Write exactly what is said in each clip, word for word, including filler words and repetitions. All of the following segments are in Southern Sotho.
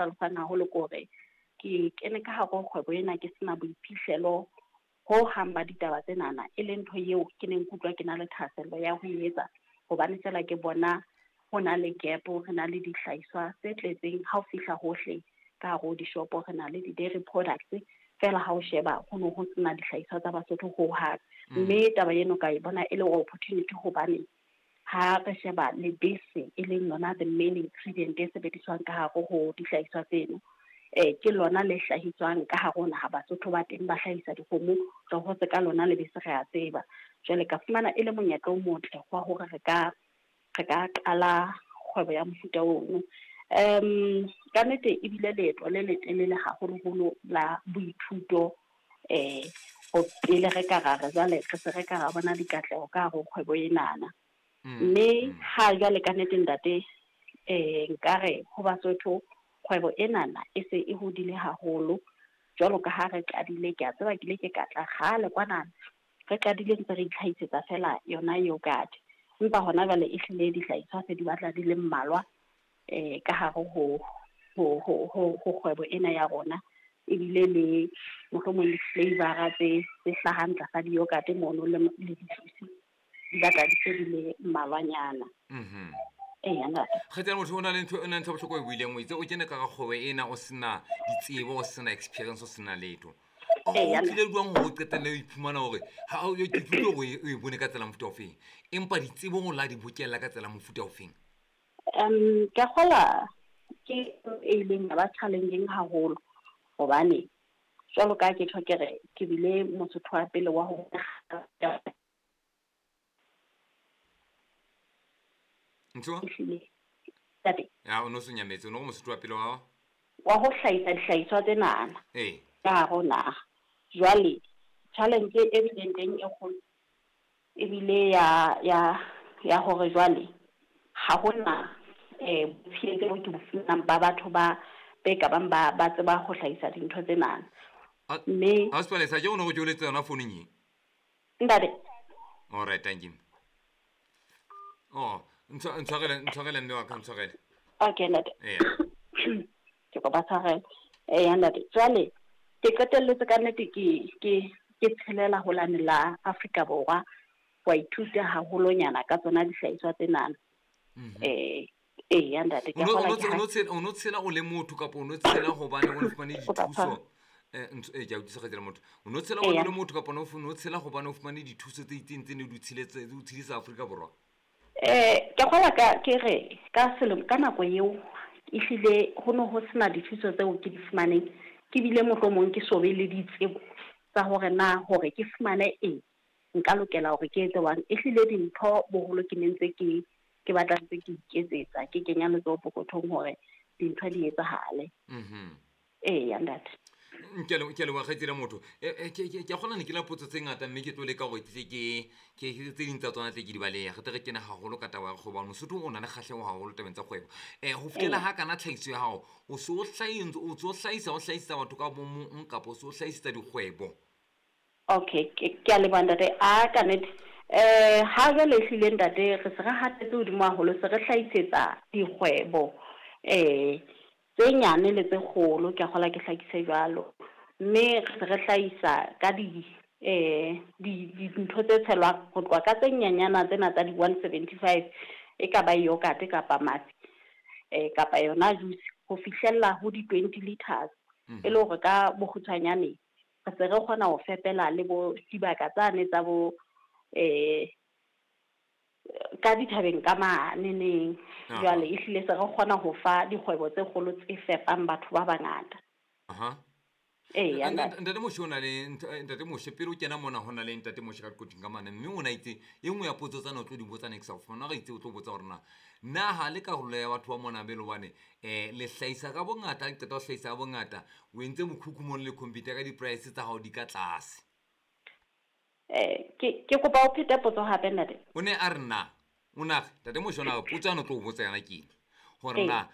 Hlalosang haholo ke hore ke kene ka hare ho kgwebo ena ke sena boiphihlelo ho hang ba ditaba tsenana, e leng ntho eo ke neng ke utlwa ke na le thahasello ya ho e etsa, hobane fela ke bona ho na le gap, re na le dihlahiswa tse tletseng ha o fihla hohle ka hare ho dishopo, re na le di-dairy products fela ha o sheba ho no ho sena dihlahiswa tsa Basotho ho hang. Mme taba eno ka e bona e le opportunity, hobane ha re sheba lebese e leng yona the main ingredient e sebediswang ka hare ho dihlahiswa tseno, eh ke lona le hlahiswang ka hare ho naha. Basotho ba teng ba hlahisa dikgomo, re hotse ka lona lebese, re a tseba. Jwale ka fumana e le monyetla o motle wa hore re ka re ka qala kgwebo ya mofuta ono. Um ka nnete ebile leeto le letelele haholoholo la boithuto, eh ho pele re ka ra re jwale re se re ka ra bona dikatleho ka hare ho kgwebo enana. Mme ha jwale ka nnete ntate, eh nkare ho Basotho kgwebo enana e se e hodile haholo. Jwalo ka ha re qadile, ke a tseba ke ile ke ka tla kgale kwana, re qadile ntse re itlhahisetsa fela yona yogurt, empa hona jwale e hlile dihlahiswa se di batla di le mmalwa eh ka hare ho ho ho ho ho kgwebo ena ya rona. Ebile le mohlomong le flavor tse tse hlahang tlasa di-yogurt mono le le di-juice di batla di se di le mmalwanyana. Mhm. Eya ntate. Kgaitsedi motho o na le ntho, o na le ntho ya bohlokwa e buileng, o itse o kene ka hara kgwebo ena o sena ditsebo, o sena experience, o sena letho. O Eya, tlile jwang hore o qetelle o iphumana hore ha o ke utlwile hore o e bone ka tsela mofuta ofeng, empa ditsebo o la di bokella ka tsela mofuta ofeng? Um ke a kgolwa ke e ileng ya ba challenging haholo, hobane jwalo ka ke tjho ke re ke bile Mosotho wa pele wa ho Ntho? Ehlile. Ntate. Ya, o no se nyametse, o no re Mosotho wa pele wa? Wa ho hlahisa dihlahiswa tsenana. Ee. Ka hare ho naha. Jwale challenge e bileng teng e kgolo ebile ya ya ya hore jwale ha hona eh botshehetsi bo ke bo fumanang ba batho ba be ka bang ba ba tseba ho hlahisa dintho tsenana. A- Mme A Sepalesa, ke o no re ke o letse yona founung e? Ntate. All right, thank you. Oh, ntshwa- ntshwarele, ntshwarele mme wa ka, ntshwarele. Okay, ntate. Eya. Ke kopa tshwarelo. Eya ntate. Jwale ke qetelletse ka nnete ke ke ke tshelela ho lane la Afrika Borwa, wa ithuta haholonyana ka tsona dihlahiswa tsenana. Mhm. Eh eya ntate, ke O no- kgola o no ke tse- o ha- no tshela, o no tshela o le motho kapa o no tshela hobane o fumane Kopa dithuso? tshwarelo. Eh, ntho, eh, ke a utlwisisa kgaitsedi motho. O no tshela hobane o Eya. le motho kapa o no fu-, o no tshela hobane o fumane dithuso tse itseng tse ne di o tshiletse, di o tshedisa Afrika Borwa? Eh, ke kgola ka ke re ka selemo ka nako eo ehlile ho no ho sena dithuso tseo ke di fumaneng, ke bile mohlomong ke so be le ditsebo tsa hore na hore ke fumane eng nka lokela hore ke etse jwang. Ehlile dintho boholo ke ne ntse ke ke batla ntse ke iketsetsa, ke kenya letsoho pokothong hore dintho di etsahale. Mhm. Eya ntate. Ke a leboha, ke a leboha kgaitsedi motho. Eh, eh, ke, ke, ke a kgona ne ke la potso tse ngata mme ke tlo leka hore ke tle ke, ke, ke tse ding tsa tsona tle ke di balehe. Re tle re kene haholo ka taba ya kgwebo, hobane Mosotho o na le kgahleho haholo tabeng tsa kgwebo. Eh, ho fihlela Ee. ha kana tlhahiso ya hao, o so o hlahi-, o so o hlahisa, o hlahisetsa batho ka bo mong kapa o so o hlahisetsa dikgwebo? Okay, ke, ke a leboha ntate. A ka nnete. Eh, ha jwale ehlile ntate re se re hatetse hodimo haholo, se re hlahisetsa dikgwebo eh tse nyane le tse kgolo, ke a kgola ke hlakise jwalo. Mme re se re hlahisa ka di, eh, di, dintho tse tshelwang ho tloha ka tse nyenyana tsena tsa di one seventy five, e ka ba yogurt kapa mafi, eh, kapa yona juice, ho fihlella ho di twenty liters. Mhm. E le hore ka bokgutshwanyane re se re kgona ho fepela le bo dibaka tsane tsa bo, eh, ka dithabeng ka mane neng. Aha. Jwale ehlile se re kgona ho fa dikgwebo tse kgolo tse fepang batho ba bangata. Aha. Eya, Ntate, ntate. Ntate Moshe o na le ntho, eh, Ntate Moshe, pele o kena mona ho na le Ntate Moshe ka qoqong ka mane, mme o na itse e nngwe ya potso tsena o tlo di botsa next hour. Fumana re itse o tlo botsa hore na, na ha le karolo ya batho ba mona be le hobane, eh, le hlahisa ka bongata, ha le qeta ho hlahisa ka bongata, o entse mokhukhu mono le computer ka di-price tsa hao di ka tlase. Eh, ke, ke kopa o phete potso hape ntate. O ne a re na, o na re, Ntate Moshe o na re potso ana o tlo o botsa yona ke eng? Hore Ee. na,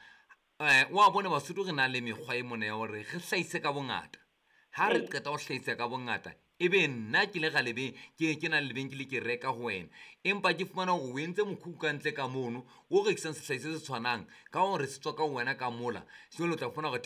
eh, wa bona Basotho re na le mekgwa e mona ya hore re hlahise ka bongata. Ha re qeta ho hlahisa ka bongata, ebe nna ke le ga lebe ke ke na le lebenkele ke reka ho wena, empa ke fumana hore o entse mokhukhu ka ntle ka mono o rekisang sehlahiswa se tshwanang ka hore se tswa ka ho wena ka mola. Jwale o tla fumana hore